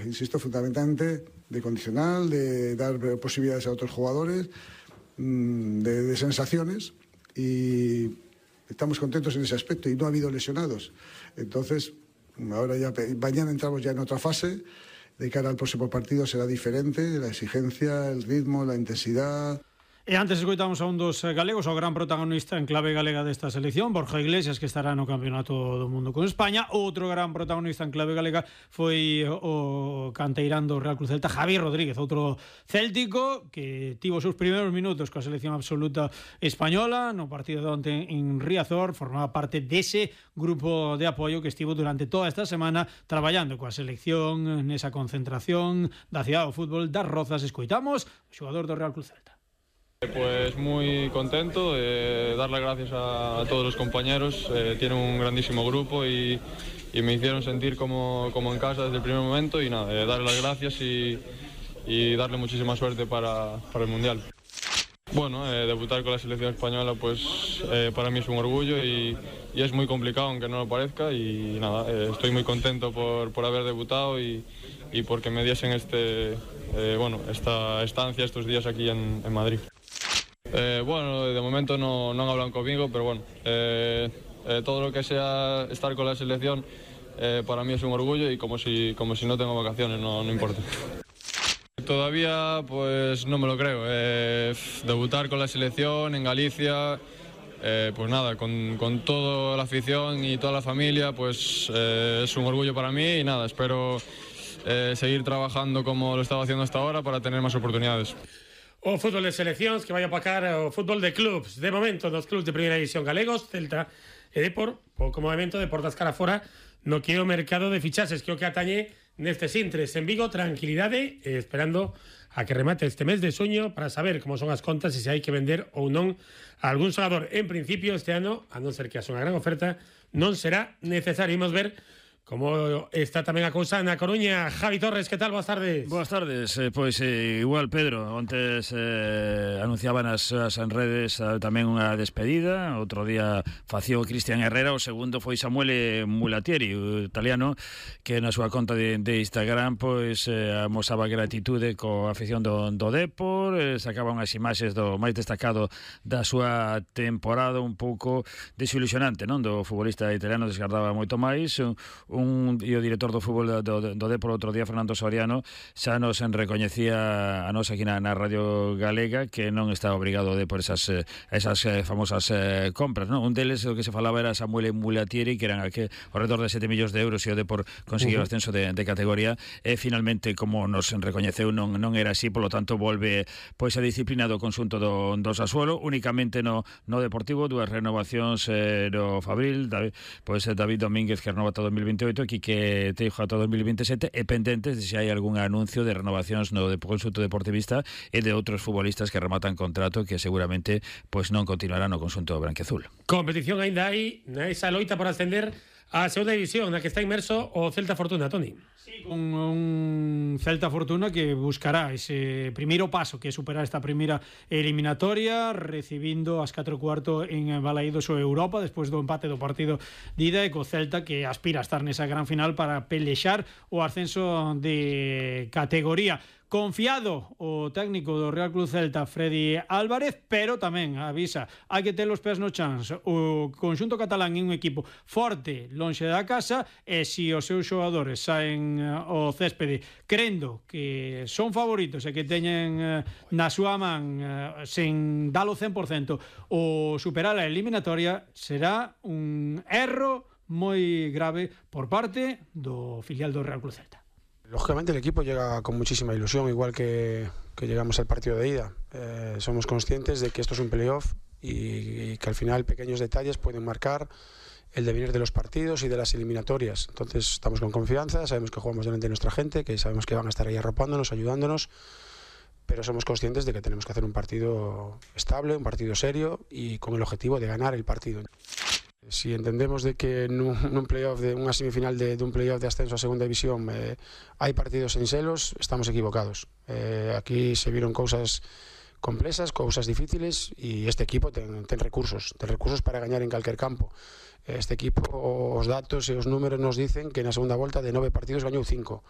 Insisto, fundamentalmente de condicional, de dar posibilidades a otros jugadores, de sensaciones, y estamos contentos en ese aspecto y no ha habido lesionados. Entonces, ahora ya mañana entramos ya en otra fase. De cara al próximo partido será diferente, la exigencia, el ritmo, la intensidad. E antes escoitamos a un dos galegos, o gran protagonista en clave galega desta selección, Borja Iglesias, que estará no Campeonato do Mundo con España. Outro gran protagonista en clave galega foi o canteirán do Real Club Celta, Javi Rodríguez, outro céltico que tivo os seus primeiros minutos coa selección absoluta española no partido de onte en Riazor. Formaba parte dese grupo de apoio que estivo durante toda esta semana traballando coa selección nesa concentración da Cidade do Fútbol das Rozas. Escoitamos o xogador do Real Club Celta. Pues muy contento, darle gracias a todos los compañeros, tienen un grandísimo grupo y me hicieron sentir como en casa desde el primer momento, y nada, darle las gracias y darle muchísima suerte para el Mundial. Bueno, debutar con la selección española pues para mí es un orgullo y es muy complicado aunque no lo parezca, y nada, estoy muy contento por haber debutado y porque me diesen esta estancia estos días aquí en Madrid. Bueno, de momento no han hablado conmigo, pero bueno, todo lo que sea estar con la selección para mí es un orgullo, y como si no tengo vacaciones, no importa. Todavía pues no me lo creo, debutar con la selección en Galicia, pues nada, con toda la afición y toda la familia, pues es un orgullo para mí, y nada, espero seguir trabajando como lo estaba haciendo hasta ahora para tener más oportunidades. O fútbol de seleccións que vai apacar o fútbol de clubs. De momento, dos clubs de primeira división galegos, Celta e Depor, pouco movimento de portas cara fora no que é o mercado de fichaxes, que o que atañe nestes intres. En Vigo, tranquilidade, esperando a que remate este mes de xuño para saber como son as contas e se hai que vender ou non a algún xogador. En principio, este ano, a non ser que haxa unha gran oferta, non será necesario. Imos ver como está tamén a cousa na Coruña. Javi Torres, que tal? Boas tardes. Boas tardes, pois igual Pedro, ontes anunciaban as redes tamén unha despedida, outro día facía o Cristian Herrera, o segundo foi Samuele Mulatieri, o italiano, que na súa conta de Instagram pois amosaba gratitude coa afición do Depor, sacaba unhas imaxes do máis destacado da súa temporada, un pouco desilusionante, non? Do futbolista italiano, desgardaba moito máis. E o director do fútbol do Depor outro día, Fernando Soriano, xa nos recoñecía a nos aquí na Radio Galega que non está obrigado por esas famosas compras, non? Un deles, o que se falaba, era Samuele Mulatieri, que eran ao redor de 7 millóns de euros, e o Depor conseguiu o ascenso de categoría, e finalmente, como nos recoñeceu, non era así, polo tanto volve pois a disciplina do conxunto do Sassuolo, únicamente no Deportivo, dúas renovacións no Fabril, David Domínguez, que renova ata 2028, Quique Teijo ata 2027, e pendentes de se hai algún anuncio de renovacións no conxunto deportivista e de outros futbolistas que rematan contrato que seguramente pois non continuarán no conxunto branquiazul. Competición aínda hai nesa loita por ascender a segunda división, na que está inmerso o Celta Fortuna, Toni. Sí, con un Celta Fortuna que buscará ese primeiro paso, que é superar esta primeira eliminatoria, recibindo as 4:15 en Balaídos o Europa, despois do empate do partido de ida, e co Celta que aspira a estar nesa gran final para pelexar o ascenso de categoría. Confiado o técnico do Real Club Celta, Freddy Álvarez, pero tamén avisa, hai que ter os pés no chans. O conxunto catalán é un equipo forte lonxe da casa, e se os seus xogadores saen ao céspede crendo que son favoritos e que teñen na súa man sen dalo 100% o superar a eliminatoria, será un erro moi grave por parte do filial do Real Club Celta. Lógicamente el equipo llega con muchísima ilusión, igual que llegamos al partido de ida. Somos conscientes de que esto es un playoff y que al final pequeños detalles pueden marcar el devenir de los partidos y de las eliminatorias. Entonces estamos con confianza, sabemos que jugamos delante de nuestra gente, que sabemos que van a estar ahí arropándonos, ayudándonos, pero somos conscientes de que tenemos que hacer un partido estable, un partido serio y con el objetivo de ganar el partido. Si entendemos de que en un playoff, de una semifinal de un playoff de ascenso a segunda división hay partidos en celos, estamos equivocados. Aquí se vieron cosas complexas, cousas difíciles, e este equipo ten recursos para gañar en calquer campo. Este equipo, os datos e os números nos dicen que na segunda volta de 9 partidos gañou 5.